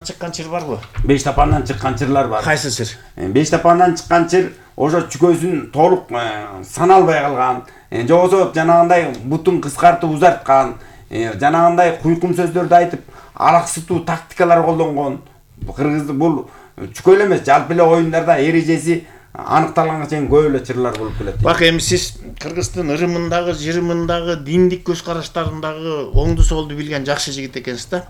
Чыккан чыр барбы? Бештапандан чыккан чырлар бар. Кайсы чыр? Бештапандан чыккан чыр ошо чүкөсүн толук саналбай калган, жобосо жанагындай бутун кыскартып узарткан, жанагындай куйкум сөздөрдү айтып, алаксытуу тактикалар колдонгон. Кыргызды бул чүкө эле эмес, жалпы эле оюндарда эрежеси аныкталганга чейин көп эле чырлар болуп келет. Бак эми сиз Кыргыздын ырымындагы, жырымындагы, диндик көз караштарындагы оңду солду билген жакшы жигит экенсиз да.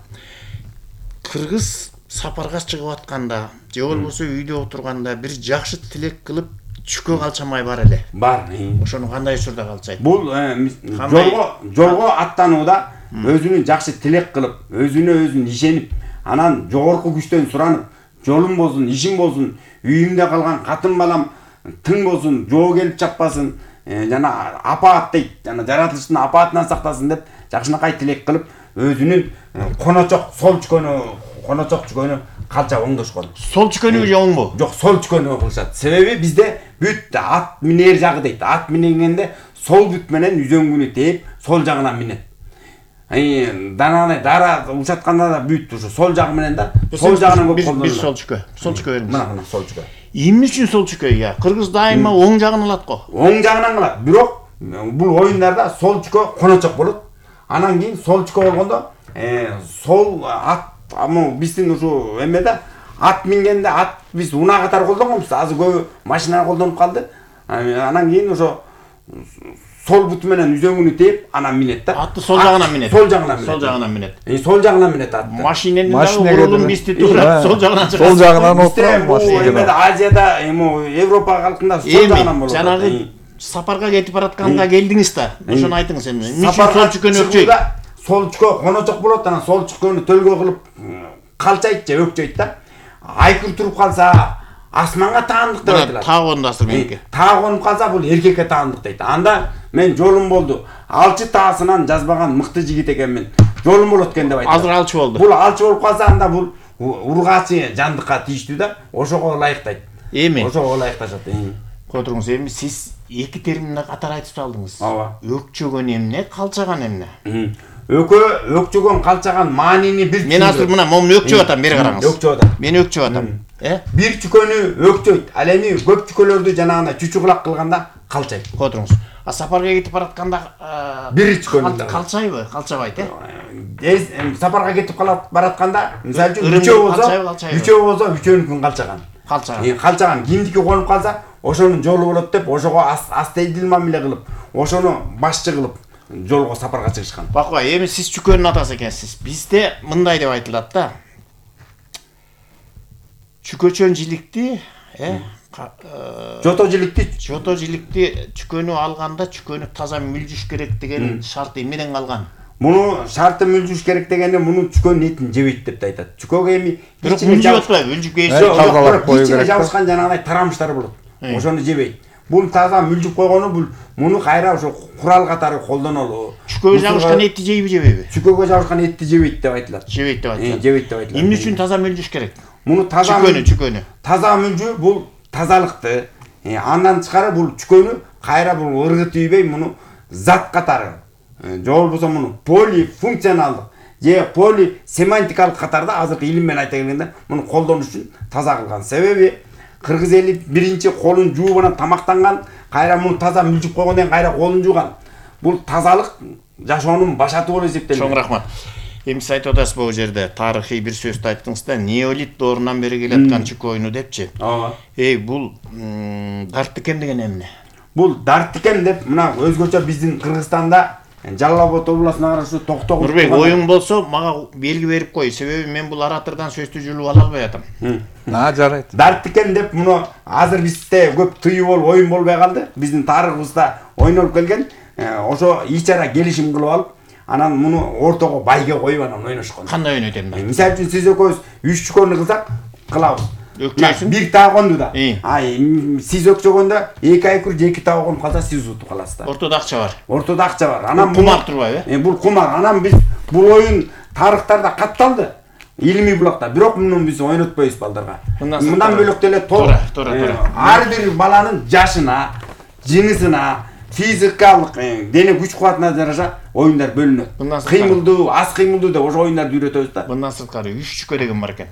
Кыргыз сапарга чыгып атканда, же болбосо үйдө отурганда бир жакшы тилек кылып чүкө калчамай бар эле. Бар. Ошону кандай учурда калчайт? Бул жолго аттанууда өзүнүн жакшы тилек кылып, өзүнө ишенип, анан жогорку күчтөн суранып, жолум болсун, ишим болсун, үйүмдө калган катын балам тың болсун, жоо келип чаппасын, жана апаат дейт, жана жаратылыштын апаатынан сактасын деп жакшынакай тилек кылып, өзүнүн коночок сол чүкөнү калча оңдошкон. Сол чүкөнү же оңбу? Жок, сол чүкөнү кылышат. Себеби бизде бүт ат минер жагы дейт. Ат мингенде сол бүт менен үзөңгүнү тээп, сол жагынан минет. Дара ушатканда да бүт ушу сол жагы менен да, сол жагынан көп колдонулат. Бир сол чүкө. Сол чүкө бериңиз. Мына сол чүкө. Эмне үчүн сол чүкө? Я, кыргыз дайыма оң жагын алат го. Оң жагынан алат. Бирок бул оюндарда сол чүкө коночок болот. Анан кийин сол чүкө болгондо, сол ат биздин ушу эмеде ат мингенде ат биз унаа катары колдонгонбуз. Азыр көбү машина колдонуп калды. Анан кийин ошо сол буту менен үзөңүнү тээп, анан минет да. Атты сол жагынан минет. Сол жагынан минет. Сол жагынан минет. Сол жагынан минет атты. Машинени дагы бурулун бисти турат, сол жагынан чыгат. Сол жагынан отурат машина. Эмеде Азияда, Европа калкында сол жагынан болот. Жанагы сапарга кетип баратканда келдиңиз да. Ошону айтыңыз эми. Эмне үчүн сол чүкөнү өкчөйт? Сол чүкө коночок болот, анан сол чүкөнү төлгө кылып калчайт же өкчөйт да. Айкыр туруп калса, асманга таандык деп айтылат. Таагонду асыр меники. Таагонуп калса, бул эркекке таандык дейт. Анда мен жолум болду. Алчы таасынан жазбаган мыкты жигит экенмин. Жолум болот экен деп айтат. Азыр алчы болду. Бул алчы болуп калса, анда бул ургаачы жандыкка тийиштүү да. Ошого ылайыктайт. Эми. Ошого ылайыкташат. Кой туруңуз, эми сиз эки терминди катар айтып салдыңыз. Ооба. Өкчөгөн эмне, калчаган эмне? Өкчөгөн калчаган маанини бир. Мен азыр мына момун өкчөп атам, бери караңыз. Өкчөп атам. Мен өкчөп атам. Бир чүкөнү өкчөйт. Ал эми көп чүкөлөрдү жанагындай чүчүкулак кылганда калчайт. Кой туруңуз. Сапарга кетип баратканда бир чүкөнү калчайбы? Калчабайт, Сапарга кетип баратканда, мисалы үчүн үчөө болсо үчөөнүкүн калчаган. Калчаган кимдики конуп калса, ошонун жолу болот деп, ошого астейдилма миле кылып, ошону башчы кылып жолго сапарга чыгышкан. Баква, эми сиз чүкөнүн атасы экенсиз. Бизде мындай деп айтылат да. Чүкөчөн жиликти, жото жиликти чүкөнү алганда чүкөнү таза мүлжүш керек деген шарт эмнеден калган? Муну шарты мүлжүш керек дегенде муну чүкөнүн этин жебейт деп айтат. Чүкөгө эми бирок мүлжүп атпайбы? Мүлжүп кейсе тазалап кою керек. Жабышкан жанагындай тарамыштар болот. Ошону жебейт. Бул таза мүлжүп койгону бул муну кайра ошо курал катары колдонолу. Чүкөгө жабышкан этти жейби, жебейби? Чүкөгө жабышкан этти жебейт деп айтылат. Жебейт деп айтылат. Жебейт деп айтылат. Эмне үчүн таза мүлжүш керек? Муну таза чүкөнү. Таза мүлжүү бул тазалыкты. Андан тышкары бул чүкөнү кайра бул ыргы тийбей муну зат катары. Же болбосо муну полифункционалдык же полисемантикалык катарда азыркы илим менен айта келгенде муну колдонуш үчүн таза кылган. Себеби кыргыз эли биринчи колун жууп анан тамактанган, кайра муну таза мүлжүп койгондон кийин кайра колун жууган. Бул тазалык жашоонун башаты болуп эсептелет. Чоң рахмат. Эми сиз айтып атасыз бул жерде тарыхый бир сөздү айттыңыз да, неолит доорунан бери келаткан чүкө оюну депчи. Ооба. Бул дарттикем деген эмне? Бул дарттикем деп мына өзгөчө биздин Кыргызстанда Жалал Абад областына караштуу Токтогул. Нурбек, оюң болсо мага белги берип кой, себеби мен бул оратырдан сөздү жулуп ала албай атам. Жарайт. Дарттикем деп муну азыр бизде көп тыюу болуп оюн болбой калды. Биздин тарыхыбызда ойнолуп келген. Ошо ичара келишим кылып алып, анан муну ортого байге коюп анан ойношкон. Кандай ойнойт эми? Мисалы үчүн сиз экөөбүз 3 чүкөнү кылсак, кылабыз. Өкчөйсүң. Бир таагонду да. Сиз өкчөгөндө 2 айкур же 2 таагон калса сиз утуп каласыз да. Ортодо акча бар. Ортодо акча бар. Анан кумар турбайбы? Бул кумар. Анан биз бул оюн тарыхтарда катталды. Илимий булакта. Бирок муну биз ойнотпойбуз балдарга. Мындан бөлөк деле туура. Ар бир баланын жашына, жынысына, физикалык дене күч кубатына жараша оюндар бөлүнөт. Мындан сырткары- Кыймылдуу, аз кыймылдуу деп ошо оюндарды үйрөтөбүз да. Мындан сырткары 3 деген бар экен.